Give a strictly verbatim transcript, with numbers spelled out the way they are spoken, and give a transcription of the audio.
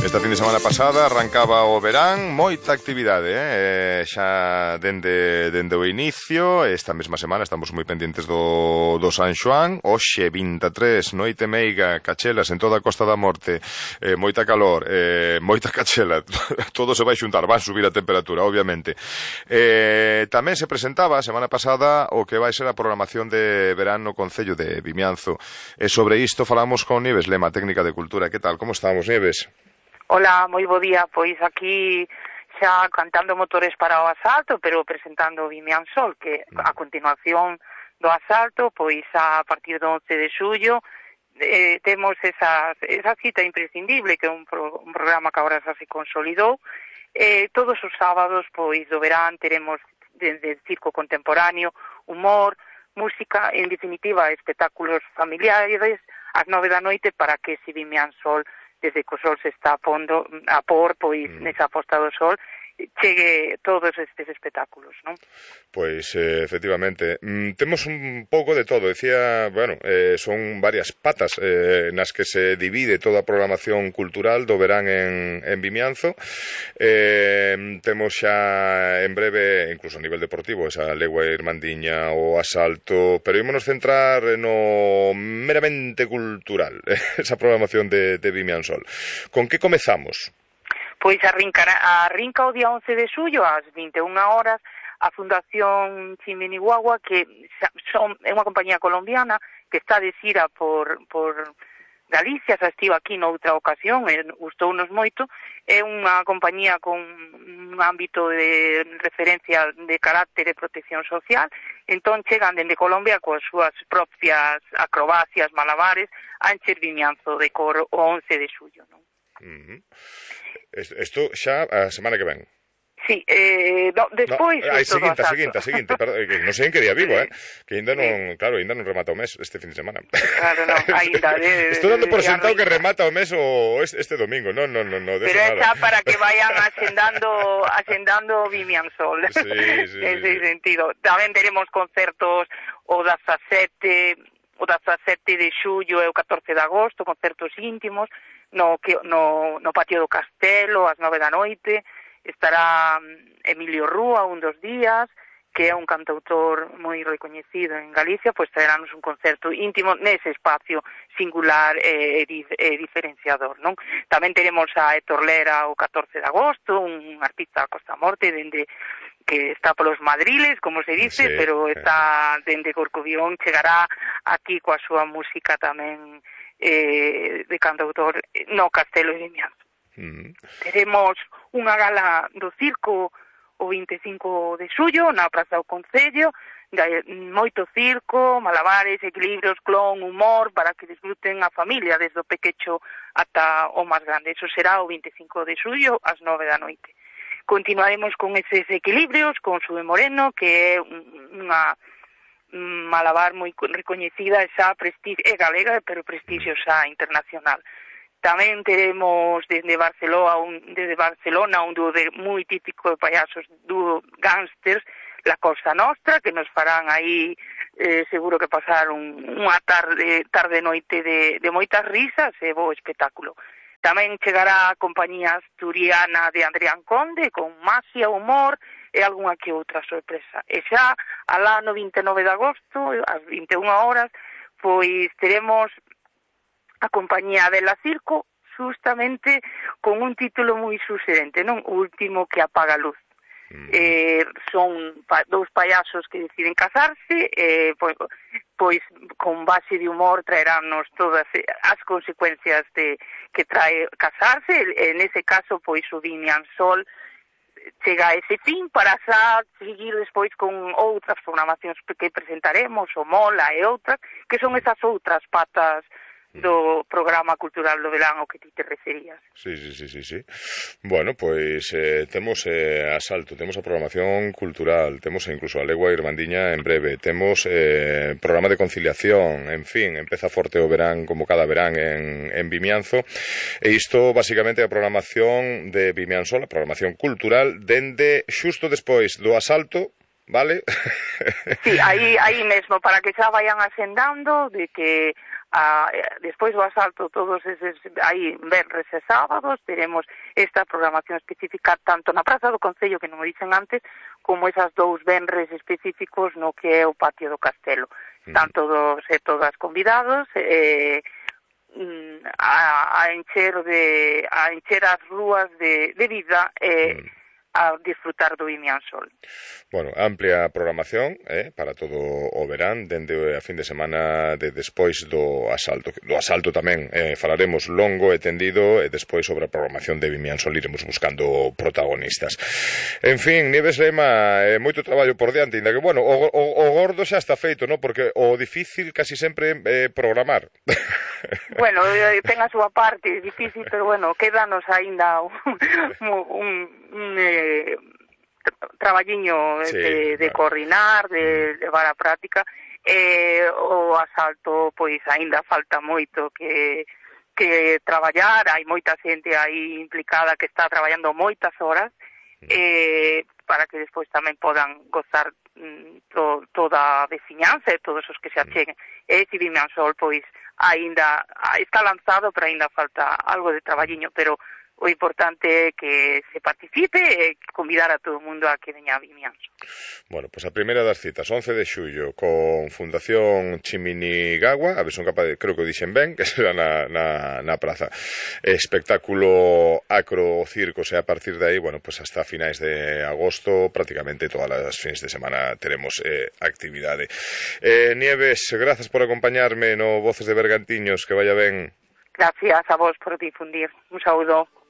Esta fin de semana pasada arrancaba o verán, moita actividade, eh? xa dende, dende o inicio. Esta mesma semana estamos moi pendientes do, do San Xoán. Hoxe vinte e tres, noite meiga, cachelas en toda a Costa da Morte, eh, moita calor, eh, moita cachela, todo se vai xuntar, van subir a temperatura, obviamente. Eh, tamén se presentaba a semana pasada o que vai ser a programación de verán no Concello de Vimianzo. E sobre isto falamos con Nieves Lema, técnica de Cultura. Que tal, como estamos, Nieves? Hola, moi bo día, pois aquí xa cantando motores para o asalto, pero presentando Vimianzol, que a continuación do asalto, pois a partir do once de xullo, eh, temos esa, esa cita imprescindible, que é un, pro, un programa que agora xa se consolidou. Eh, todos os sábados, pois, do verán, teremos desde circo contemporáneo, humor, música, en definitiva, espectáculos familiares, ás nove da noite, para que se Vimianzol, desde que o sol se está a, pondo, a por, pois, mm. nesa posta do sol, chegue todos estes espectáculos, non? Pois, eh, efectivamente, mm, temos un pouco de todo, decía, bueno, eh, son varias patas eh, nas que se divide toda a programación cultural do verán en, en Vimianzo. Eh, temos xa en breve, incluso a nivel deportivo, esa legua irmandiña, o asalto, pero ímonos centrar no meramente cultural, esa programación de, de Vimianzol. Con que comezamos? Pois arrinca, arrinca o día once de xullo ás vinte e unha horas a Fundación Chimeniguagua, que son, é unha compañía colombiana que está de xira por, por Galicia, xa estivo aquí noutra ocasión, e gustounos moito. É unha compañía con un ámbito de referencia de carácter de protección social, entón chegan dende Colombia coas súas propias acrobacias, malabares, a encher Vimianzo de cor o once de xullo, non? Uh-huh. Isto xa a semana que ven. Sí, eh, no, despois... No, a seguinte, a seguinte, a seguinte, perdón, que non sei en que día vivo, eh? Que ainda non, claro, ainda non remata o mes este fin de semana. Claro, non, ainda... De, Estou dando por sentado que remata o mes o este, este domingo, non, non, non, no, de pero eso nada. Pero é para que vayan ascendando, ascendando Vimianzol, sí, sí, en ese sí. sentido. Tamén teremos concertos o dezasete, o dezasete de xullo e o catorce de agosto, concertos íntimos, no, no, no patio do Castelo, ás nove da noite. Estará Emilio Rúa un dos días, que é un cantautor moi recoñecido en Galicia, pois traeránnos un concerto íntimo nese espacio singular e, e, e diferenciador, non? Tamén teremos a Héctor Lera o catorce de agosto, un artista da Costa Morte, dende que está polos madriles, como se dice, sí, pero está dende Corcubión, chegará aquí coa súa música tamén eh, de cantautor no Castelo de Vimianzo. Mm. Teremos unha gala do circo o vinte e cinco de xullo na Praza do Concello, moito circo, malabares, equilibrios, clon, humor, para que disfruten a familia desde o pequecho ata o máis grande. Eso será o vinte e cinco de xullo ás nove da noite. Continuaremos con eses equilibrios con Sube Moreno, que é unha malabar moi recoñecida, xa prestigio, é galega, pero prestigio xa internacional. Tamén teremos desde Barcelona un, desde Barcelona un dúo de, moi típico de payasos, dúo Gangsters, La Cosa Nostra, que nos farán aí eh, seguro que pasar un, unha tarde tarde noite de, de moitas risas e bo espectáculo. Tamén chegará a compañía asturiana de Adrián Conde con maxia, humor e algunha que outra sorpresa. E xa alá no vinte e nove de agosto, ás vinte e unha horas, pois teremos a compañía de La Circo, justamente con un título moi sugerente, non? O último que apaga a luz. Mm. Eh, son pa, dous payasos que deciden casarse, eh, pois, pois con base de humor traeránnos todas as consecuencias de que trae casarse. En ese caso, pois o Vimianzol chega a ese fin para xa seguir despois con outras programacións que presentaremos, o Mola e outras, que son esas outras patas do programa cultural do verán ao que ti te referías. Sí, sí, sí, sí, sí. Bueno, pois eh, temos eh, asalto, temos a programación cultural, temos incluso a legua irmandiña en breve, temos eh, programa de conciliación, en fin, empeza forte o verán como cada verán en, en Vimianzo, e isto basicamente é a programación de Vimianzol, a programación cultural, dende xusto despois do asalto, vale? Sí, aí, aí mesmo, para que xa vayan ascendando de que a, despois do asalto todos eses aí venres e sábados teremos esta programación específica tanto na Praza do Concello, que non o dixen antes, como esas dous venres específicos no que é o patio do Castelo. Están todos e todas convidados eh, a, a encher de a encher as rúas de, de vida e eh, a disfrutar do Vimian Sol. Bueno, amplia programación eh, para todo o verán, dende a fin de semana de despois do asalto. Do asalto tamén eh, falaremos longo e tendido e despois sobre a programación de Vimian Sol iremos buscando protagonistas. En fin, Nieves Lema, eh, moito traballo por diante, ainda que, bueno, o, o, o gordo xa está feito, ¿no? Porque o difícil casi sempre é eh, programar. Bueno, ten a súa parte, é difícil, pero bueno, quédanos aínda un, un, un eh, traballiño sí, de, de claro. coordinar, de levar a práctica. Eh, o asalto, pois, aínda falta moito que, que traballar, hai moita xente aí implicada que está traballando moitas horas, eh, para que despois tamén podan gozar mm, to, toda a veciñanza e todos os que se acheguen. E ese Vimian Sol, pois, aínda está lanzado, pero aínda falta algo de traballiño, pero o importante é que se participe e convidar a todo o mundo a que veña a Vimian Sol. Bueno, pois pues a primeira das citas, once de xullo, con Fundación Chiminigawa, a ver son capaz de, creo que o dixen ben, que será na, na, na praza. Espectáculo acrocirco, e a partir de aí, bueno, pues hasta finais de agosto, prácticamente todas as fins de semana teremos eh, actividade. Eh, Nieves, grazas por acompañarme no Voces de Bergantiños, que vaya ben. Gracias a vos por difundir. Un saúdo.